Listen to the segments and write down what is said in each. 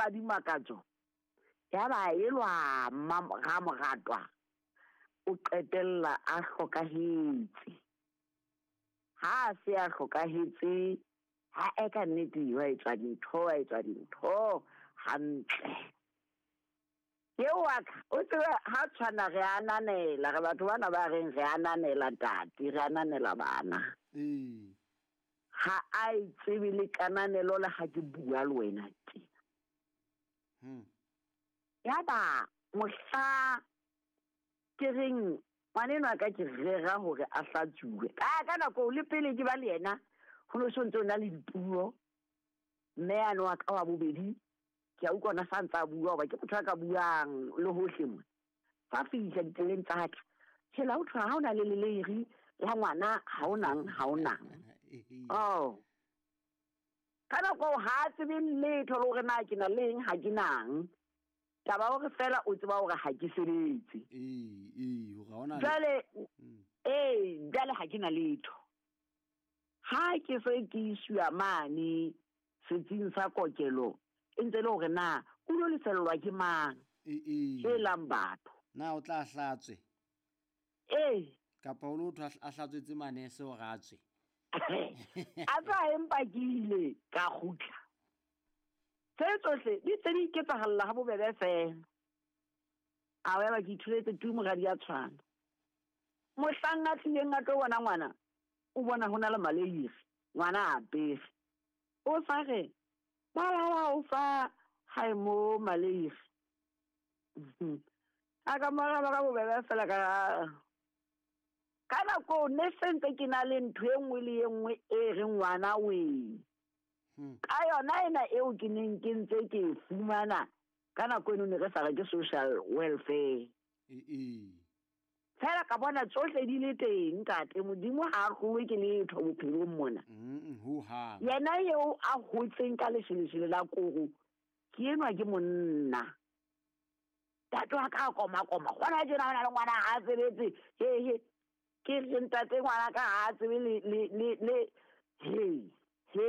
Radimakatso ya ba elwa Mmamoratwa o qetella a hlokahetse. Ha a se a hlokahetse, ha e ka nnete wa etswa dintho, wa etswa dintho hantle. Eo wa ka, o tsebe ha tshwana re ananela, re batho bana ba reng re ananela ntate, re ananela bana. Ee. Ha a e tsebe le kananelo le ha ke bua le wena tjena. Yaba mohla ke reng ngwanenwa ka ke rera hore a hlatsuwe. Ka nako le pele ke ba le yena, ho no so ntse o na le dipuo. Mme yane wa ka wa bobedi, ke a utlwa ona sa ntsa bua hoba ke motho a ka buang le hohle mona. Fa fihla ditseleng tsa ka, hela ho thwe ha o na le leleiri la ngwana, ha o nang, ha o nang. Oh. Ka nako ha a tsebe letho le hore na ke na le eng, ha ke nang. Taba hore fela o tseba hore ha ke sebetse. Ee, ee, hore ha ona le- Jwale, ee, jwale ha ke na letho. Ha ke se ke iswa mane setsing sa kokelo, e ntse le hore na o lo lefellwa ke mang? Ee, ee. Helang batho. Na o tla hlatswe? Ee. Kapa o lo thwa a hlatswetse manese hore a tswe? A tswa empa ke ile ka kgutla. Tse tsohle di tse di iketsahalla ha bobebe fela. A wa ba ke ithuletse tu moradi ya tshwana. Mohlang a tlileng a tlo bona ngwana, o bona ho na le maleiri, ngwana a apere. O sa re, ba ba ba o fa hae mo maleiri. A ka mo araba ka bobebe fela ka ka nako ne se ntse ke na le ntho e nngwe le e nngwe e reng ngwana wee. Ka yona ena eo ke neng ke ntse ke e fumana ka nako eno ne re sa re ke social welfare. Ee. Fela ka bona tsohle di le teng ntate, Modimo ha a hlolwe ke letho bophelong mona. Ho hang. Yena eo a hotseng ka lesheleshele la koro, ke enwa ke monna. Ntate wa ka a koma-koma, kgona tjena ho na le ngwana ha a sebetse, he, he. Ke re ntate ngwana ka ha a tsebe le, le, le, le, he, he.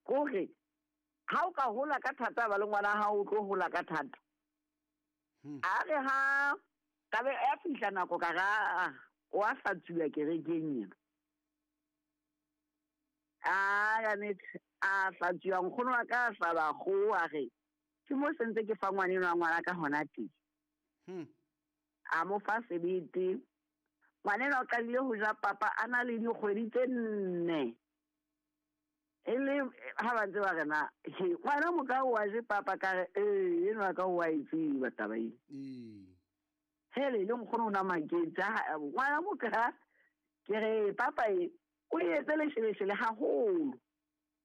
Kore, ha o ka hola ka thata ba le ngwana ha o tlo hola ka thata. A re ha ka be ya fihla nako ka ra, o a hlatsuwa kerekeng ena. A ya nete, a hlatsuwa nkgono wa ka a hlaba kgoho a re, ke mo sentse ke fa ngwanenwa ngwana ka hona teng. A mo fa sebete. Ngwanenwa o qadile ho ja papa a na le dikgwedi tse 4. E le ha ba ntse ba re na, he, ngwana mo ka o a je papa ka re, ee, enwa ka o a e tseba taba ena. Ee. Hele, le nkgono o na maketse, ha, ngwana mo ka, ke re, papa e, o e etse lesheleshele haholo.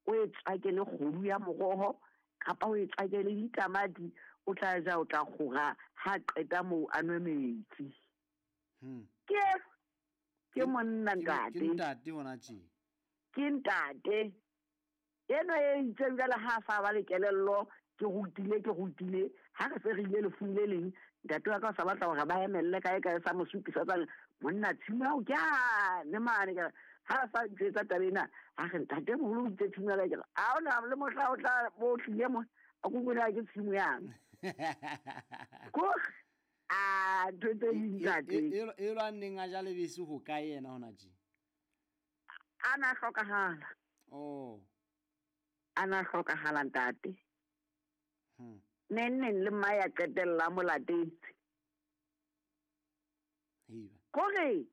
O e tswake le kgodu ya moroho, kapa o e tswake le ditamati, o tla ja, o tla kgora, ha qeta moo a nwe metsi. Ke monna ntate. Ke ntate hona tje. Ke ntate. Eno e itseng jwale ha a sa ba le kelello, ke rutile, ke rutile, ha re se re ile lefung le leng, ntate wa ka o sa batla hore ba emelle kae kae sa mo supisa tsa monna tshimo ya ho ke yane mane, ke re, ha a sa ntjwetsa taba ena, a re ntate moholo o itse tshimo ya ka, ke re, ha hona le mohla o tla bo tlile mo, a ko bone ha ke tshimo yane. Kore, a, ntho tse ding ntate. E lwanneng a ja lebese ho kae yena hona tje? A na hlokahala. Oh. A na hlokahala ntate. Neng neng le mma ya qetella mo latetse. Heiba. Kore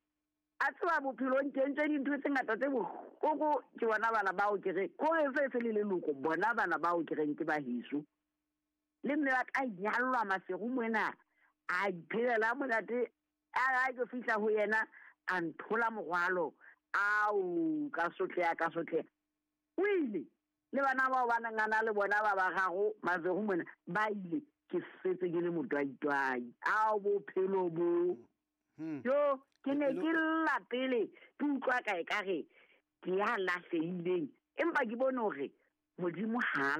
a tseba bophelong ke entse dintho tse ngata tse bohloko ke bona bana bao ke re kore se se le leloko bona bana bao ke reng ke ba heso. Le mme wa ka nyallwa Maseru mona a iphelela monate a ra ke fihla ho yena a nthola morwalo ao ka sotleha ka sotleha. O ile le bana bao ba neng a na le bona ba bararo Maseru mona ba ile ke setse ke le motwaitwai. Ao bophelo bo. Yo ke ne ke lla pele ke utlwa ka ekare ke ya lahlehileng empa ke bone hore Modimo ha a